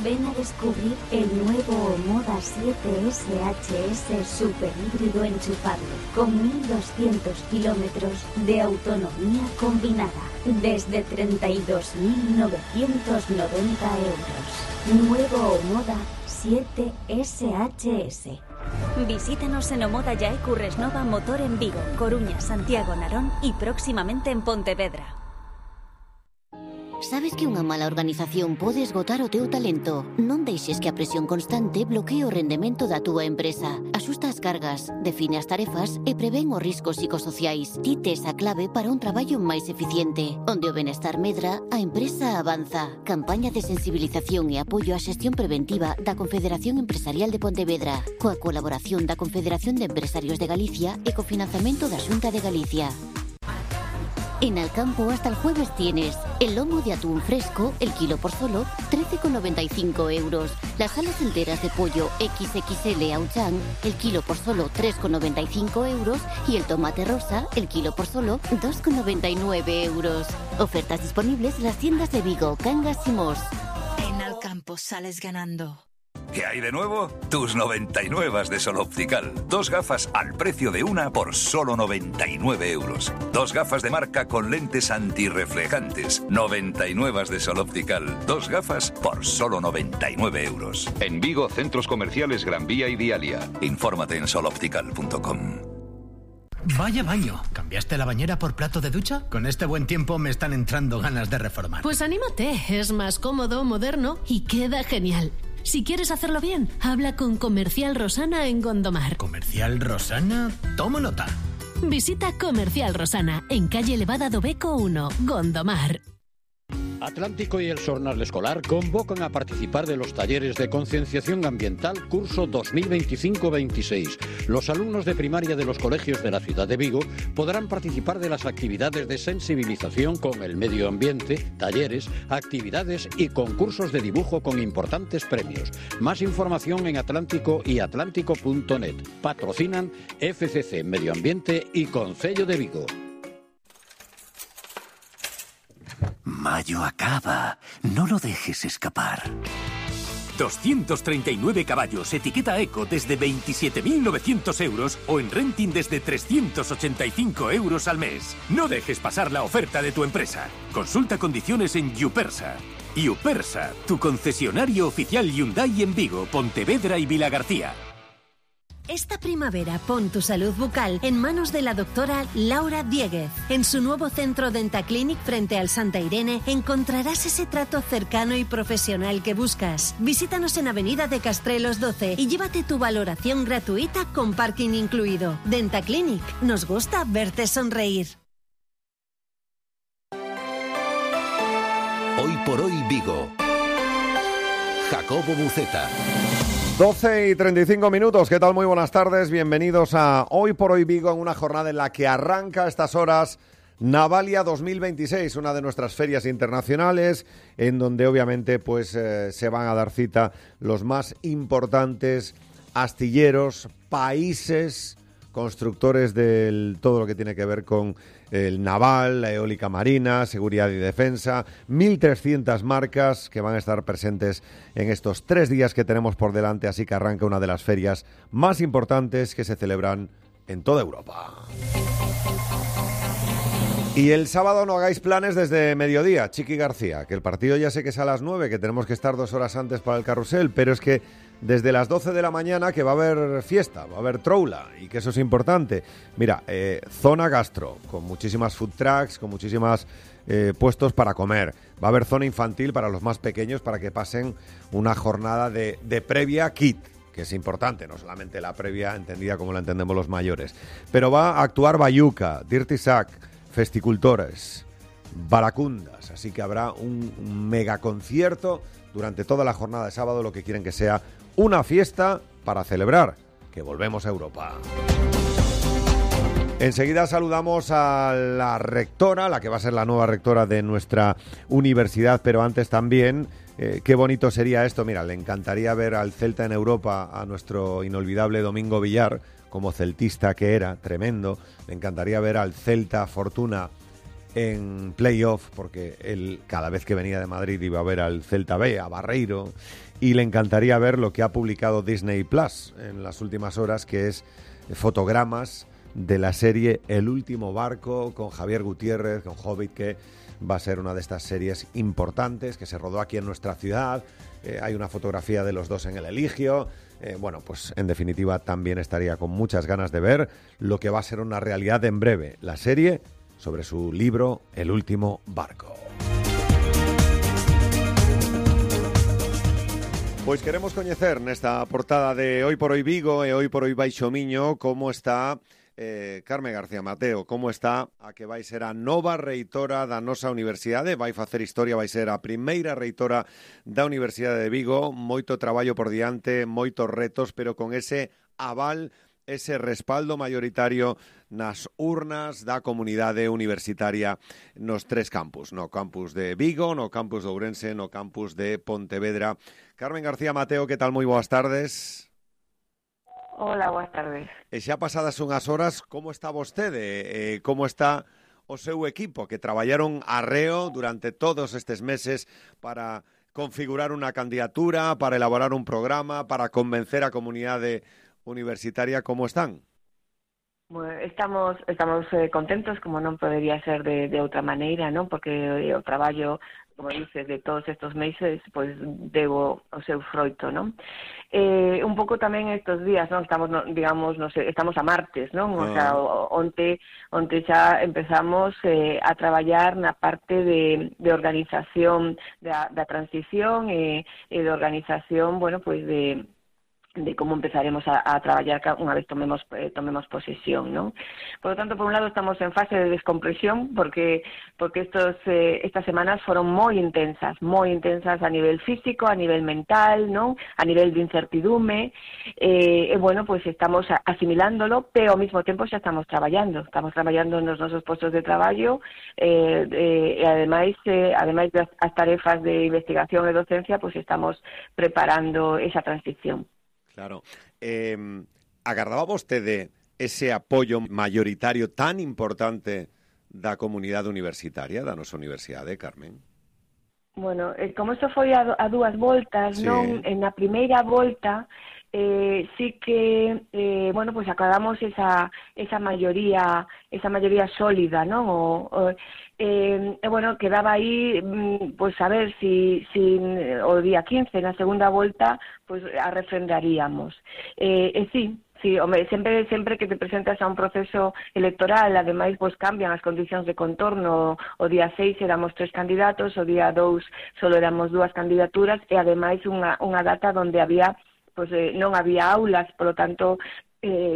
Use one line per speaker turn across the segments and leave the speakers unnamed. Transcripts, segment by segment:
Ven a descubrir el nuevo Omoda 7 SHS super híbrido enchufable con 1200 kilómetros de autonomía combinada desde 32.990 euros. Nuevo Omoda 7 SHS.
Visítanos en Omoda Yae Curresnova Motor en Vigo, Coruña, Santiago, Narón y próximamente en Pontevedra.
Sabes que unha mala organización pode esgotar o teu talento? Non deixes que a presión constante bloquee o rendemento da túa empresa. Axusta as cargas, define as tarefas e prevén os riscos psicosociais. Ti tes a clave para un traballo máis eficiente. Onde o benestar medra, a empresa avanza. Campaña de sensibilización e apoio á xestión preventiva da Confederación Empresarial de Pontevedra, coa colaboración da Confederación de Empresarios de Galicia e cofinanciamento da Xunta de Galicia. En Alcampo hasta el jueves tienes el lomo de atún fresco, el kilo por solo 13,95 euros. Las alas enteras de pollo XXL Auchan, el kilo por solo 3,95 euros. Y el tomate rosa, el kilo por solo 2,99 euros. Ofertas disponibles en las tiendas de Vigo, Cangas y Mos.
En Alcampo sales ganando.
¿Qué hay de nuevo? Tus 99 de Sol Optical. 2 gafas al precio de una por solo 99 euros. 2 gafas de marca con lentes antirreflejantes. 99 de Sol Optical. 2 gafas por solo 99 euros.
En Vigo, centros comerciales Gran Vía y Dialia.
Infórmate en soloptical.com.
Vaya baño. ¿Cambiaste la bañera por plato de ducha? Con este buen tiempo me están entrando ganas de reformar.
Pues anímate. Es más cómodo, moderno y queda genial. Si quieres hacerlo bien, habla con Comercial Rosana en Gondomar.
¿Comercial Rosana? Tomo nota.
Visita Comercial Rosana en calle Elevada do Beco 1, Gondomar.
Atlántico y el Xornal Escolar convocan a participar de los talleres de concienciación ambiental curso 2025-26. Los alumnos de primaria de los colegios de la ciudad de Vigo podrán participar de las actividades de sensibilización con el medio ambiente, talleres, actividades y concursos de dibujo con importantes premios. Más información en Atlántico y atlántico.net. Patrocinan FCC Medio Ambiente y Concello de Vigo.
Mayo acaba. No lo dejes escapar. 239 caballos, etiqueta Eco desde 27.900 euros o en renting desde 385 euros al mes. No dejes pasar la oferta de tu empresa. Consulta condiciones en Yupersa. Yupersa, tu concesionario oficial Hyundai en Vigo, Pontevedra y Vilagarcía.
Esta primavera pon tu salud bucal en manos de la doctora Laura Dieguez. En su nuevo centro Dentaclinic frente al Santa Irene encontrarás ese trato cercano y profesional que buscas. Visítanos en Avenida de Castrelos 12 y llévate tu valoración gratuita con parking incluido. Dentaclinic, nos gusta verte sonreír.
Hoy por hoy Vigo. Jacobo Buceta.
12:35. ¿Qué tal? Muy buenas tardes. Bienvenidos a Hoy por Hoy Vigo, en una jornada en la que arranca a estas horas Navalia 2026, una de nuestras ferias internacionales, en donde obviamente pues se van a dar cita los más importantes astilleros, países, constructores de todo lo que tiene que ver con el naval, la eólica marina, seguridad y defensa, 1.300 marcas que van a estar presentes en estos 3 días que tenemos por delante, así que arranca una de las ferias más importantes que se celebran en toda Europa. Y el sábado no hagáis planes desde mediodía, Chiqui García, que el partido ya sé que es a las 9, que tenemos que estar 2 horas antes para el carrusel, pero es que desde las 12 de la mañana que va a haber fiesta, va a haber troula, y que eso es importante. Mira, zona gastro, con muchísimas food trucks, con muchísimas puestos para comer. Va a haber zona infantil para los más pequeños, para que pasen una jornada de previa kit, que es importante, no solamente la previa entendida como la entendemos los mayores. Pero va a actuar Bayuca, Dirty Sack, Festicultores, Baracundas, así que habrá un mega concierto durante toda la jornada de sábado, lo que quieren que sea una fiesta para celebrar que volvemos a Europa. Enseguida saludamos a la rectora, la que va a ser la nueva rectora de nuestra universidad, pero antes también, qué bonito sería esto. Mira, le encantaría ver al Celta en Europa, a nuestro inolvidable Domingo Villar, como celtista que era, tremendo. Le encantaría ver al Celta Fortuna en playoff, porque él cada vez que venía de Madrid iba a ver al Celta B, a Barreiro, y le encantaría ver lo que ha publicado Disney Plus en las últimas horas, que es fotogramas de la serie El último barco, con Javier Gutiérrez, con Hobbit, que va a ser una de estas series importantes, que se rodó aquí en nuestra ciudad. Hay una fotografía de los dos en el Eligio. Bueno, pues en definitiva también estaría con muchas ganas de ver lo que va a ser una realidad en breve, la serie sobre su libro El último barco. Pois queremos coñecer nesta portada de Hoy por Hoy Vigo e Hoy por Hoy Baixo Miño como está Carmen García Mateo, como está a que vai ser a nova reitora da nosa universidade, vai facer historia, vai ser a primeira reitora da Universidade de Vigo, moito traballo por diante, moitos retos, pero con ese aval, ese respaldo mayoritario nas urnas da comunidade universitaria nos tres campus, no campus de Vigo, no campus de Ourense, no campus de Pontevedra. Carmen García Mateo, que tal? Moi boas tardes.
Hola, boas tardes.
E xa pasadas unhas horas, como está vostede? Como está o seu equipo, que traballaron arreo durante todos estes meses para configurar unha candidatura, para elaborar un programa, para convencer a comunidade universitaria? Como están?
Bueno, estamos contentos, como non podería ser de outra maneira, non? Porque o traballo, como dices, de todos estos meses, pois debo o seu froito, non? Un pouco tamén estes días, non? Estamos, digamos, non sei, estamos a martes, non? O sea, onte xa empezamos a traballar na parte de organización da transición e de organización, bueno, pois de como empezaremos a traballar unha vez tomemos posesión, non? Por lo tanto, por un lado estamos en fase de descompresión porque estas semanas foron moi intensas a nivel físico, a nivel mental, non? A nivel de incertidume, bueno, pues estamos asimilándolo, pero ao mesmo tempo xa estamos traballando nos nosos postos de traballo, e ademais das tarefas de investigación e docencia, pues estamos preparando esa transición.
Claro. Agardaba vostede ese apoio mayoritario tan importante da comunidade universitaria, da nosa universidade, Carmen?
Bueno, como isto foi a dúas voltas, sí. Non? Na primeira volta sí que bueno, pues acabamos esa maioría sólida, non? Bueno, quedaba aí pues a ver si o día 15 na segunda volta pues a refrendaríamos. Sí, home, sempre que te presentas a un proceso electoral, ademais, pues cambian as condicións de contorno. O día 6 éramos 3 candidatos, o día 2 solo éramos 2 candidaturas e ademais unha data onde había pues non había aulas, polo tanto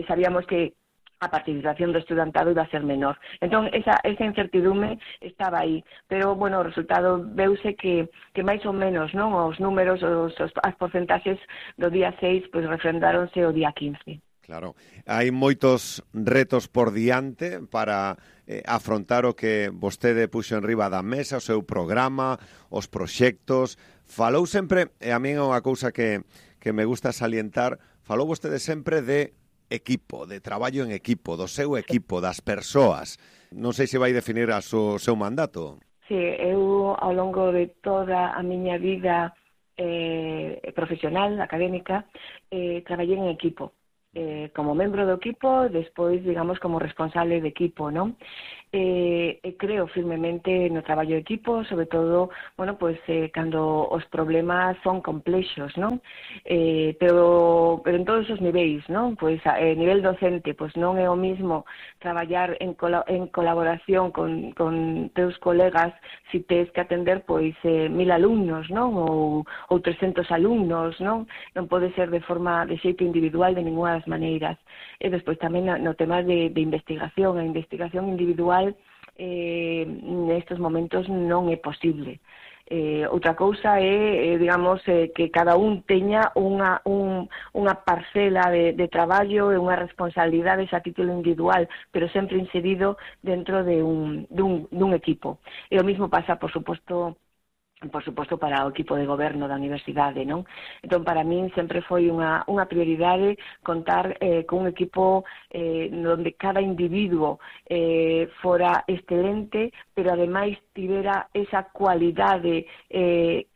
sabíamos que a participación do estudantado iba a ser menor. Entón, esa incertidume estaba aí. Pero, bueno, o resultado veuse que máis ou menos, non? Os números, as porcentaxes do día 6, pois refrendáronse o día 15.
Claro. Hai moitos retos por diante para afrontar o que vostede puxo en riba da mesa, o seu programa, os proxectos. Falou sempre, e a min é unha cousa que me gusta salientar, falou vostede sempre de equipo, de traballo en equipo, do seu equipo, das persoas. Non sei se vai definir o seu mandato.
Sí, eu ao longo de toda a miña vida profesional, académica, traballei en equipo. Como membro do equipo, despois, digamos, como responsable de equipo, non? Creo firmemente no traballo de equipo, sobre todo, bueno, pues cando os problemas son complexos, non? Pero en todos os niveis, non? Pues a nivel docente, pues non é o mismo traballar en colaboración con teus colegas si tes que atender, pois, 1000 alumnos, non? Ou 300 alumnos, non? Non pode ser de xeito individual de ninguna das maneiras. E despois tamén no tema de investigación, a investigación individual nestes momentos non é posible. Outra cousa é, digamos, que cada un teña unha parcela de traballo e unha responsabilidade a título individual, pero sempre inserido dentro de dun equipo. E o mismo pasa, por suposto, por suposto, para o equipo de goberno da universidade, non? Entón, para min sempre foi unha prioridade contar con un equipo onde cada individuo fora excelente, pero ademais tivera esa cualidade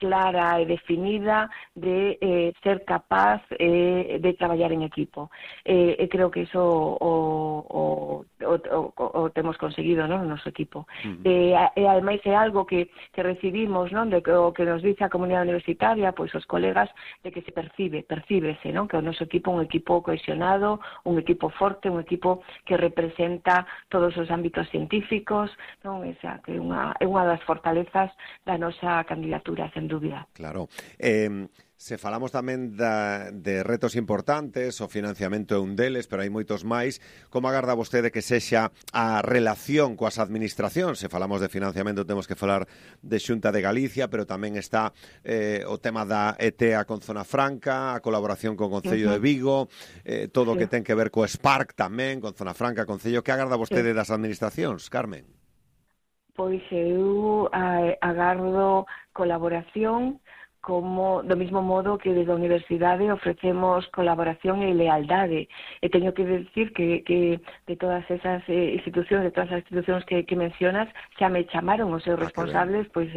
clara e definida de ser capaz de traballar en equipo. E creo que iso o temos conseguido, non, no noso equipo. E ademais é algo que recibimos, non, de o que nos dice a comunidade universitaria, pois os colegas, de que se percíbese, non, que o noso equipo é un equipo cohesionado, un equipo forte, un equipo que representa todos os ámbitos científicos, non, esa que é unha das fortalezas da nosa candidatura, sen dúbida.
Claro. Se falamos tamén de retos importantes, o financiamento é un deles, pero hai moitos máis. Como agarda vostede que sexa a relación coas administracións? Se falamos de financiamento temos que falar de Xunta de Galicia, pero tamén está o tema da ETEA con Zona Franca, a colaboración con o Concello de Vigo, todo o que ten que ver co Spark tamén, con Zona Franca, Concello. Que agarda vostede das administracións, Carmen?
Pois eu agardo colaboración, como do mesmo modo que desde a universidade ofrecemos colaboración e lealdade. E teño que decir que de todas esas institucións, de todas as institucións que mencionas, xa me chamaron os seus responsables pois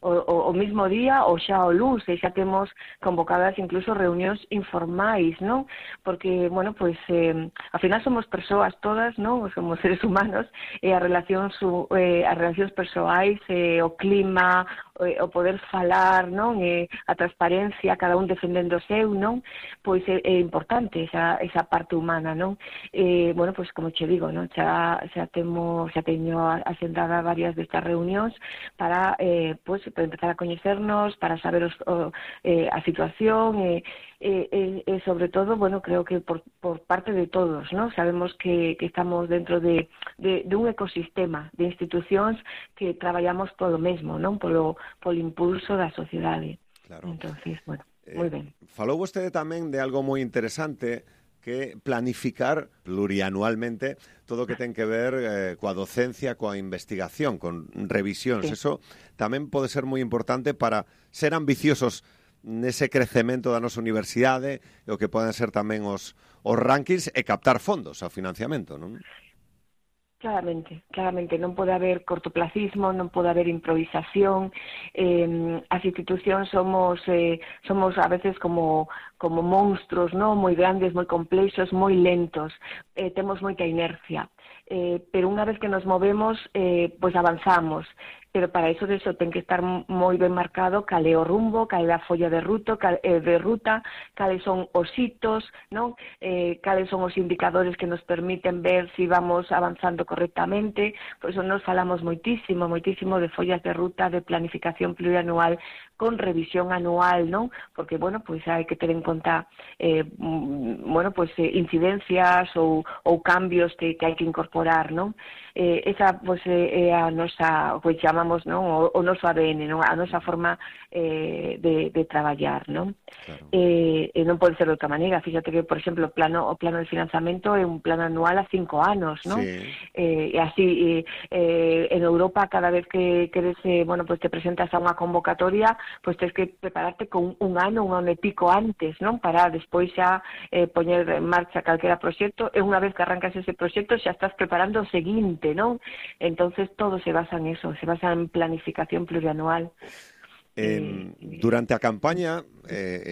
o mesmo día ou xa o luns, e xa temos convocadas incluso reunións informais, non? Porque, bueno, pois ao final somos persoas todas, non? Somos seres humanos, e as relacións persoais, o clima, o poder falar, non? A transparencia, cada un defendendo o seu, non? Pois é importante esa parte humana, non? Bueno, pois como che digo, non? Xa teño asendada varias destas reunións para empezar a coñecernos, para saber a situación e sobre todo, bueno, creo que por parte de todos, ¿no? Sabemos que estamos dentro de un ecosistema de institucións que traballamos polo mesmo, non? Polo impulso da sociedade. Claro. Entonces, bueno, moi ben.
Falou vostede tamén de algo moi interesante, que planificar plurianualmente todo o que ten que ver coa docencia, coa investigación, con revisións. Sí. Eso tamén pode ser moi importante para ser ambiciosos nese crecemento da nosa universidade, e o que poden ser tamén os rankings e captar fondos ao financiamento, non?
Claramente, non pode haber cortoplacismo, non pode haber improvisación. As institucións somos a veces como monstruos, non? Moi grandes, moi complexos, moi lentos. Temos moita inercia. Pero unha vez que nos movemos, pois avanzamos. Pero para iso ten que estar moi ben marcado cal é o rumbo, cal é a folla de ruta, cales son os hitos, non? Cales son os indicadores que nos permiten ver se vamos avanzando correctamente. Por iso nos falamos moitísimo de follas de ruta, de planificación plurianual, con revisión anual, non? Porque, bueno, pois hai que ter en conta incidencias ou cambios que hai que incorporar, non? Esa, pois, é a nosa, pois chamamos, non? O noso ADN, non? A nosa forma de traballar, non? Claro. Non pode ser de outra maneira. Fíxate que, por exemplo, o plano de financiamento é un plano anual a 5 anos, non? Sí. E así, en Europa, cada vez que queres, te presentas a unha convocatoria, pois tens que prepararte con un ano e pico antes, non? Para despois xa poñer en marcha calquera proxecto, e unha vez que arrancas ese proxecto xa estás preparando o seguinte, non? Entonces todo se basa en eso, se basa en planificación plurianual.
Durante a campaña,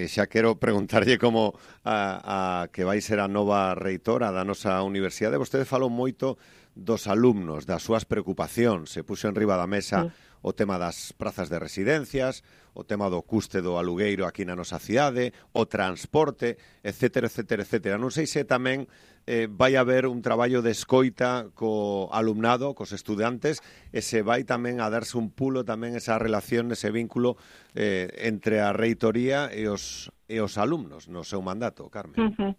xa quero preguntarlle como a que vai ser a nova reitora da nosa universidade. Vostede falou moito dos alumnos, das súas preocupacións, se puxo en riba da mesa o tema das prazas de residencias, o tema do custe do alugueiro aquí na nosa cidade, o transporte, etcétera, etcétera, etcétera. Non sei se tamén vai haber un traballo de escoita co alumnado, cos estudantes, e se vai tamén a darse un pulo tamén esa relación, ese vínculo entre a reitoría e os alumnos no seu mandato, Carmen.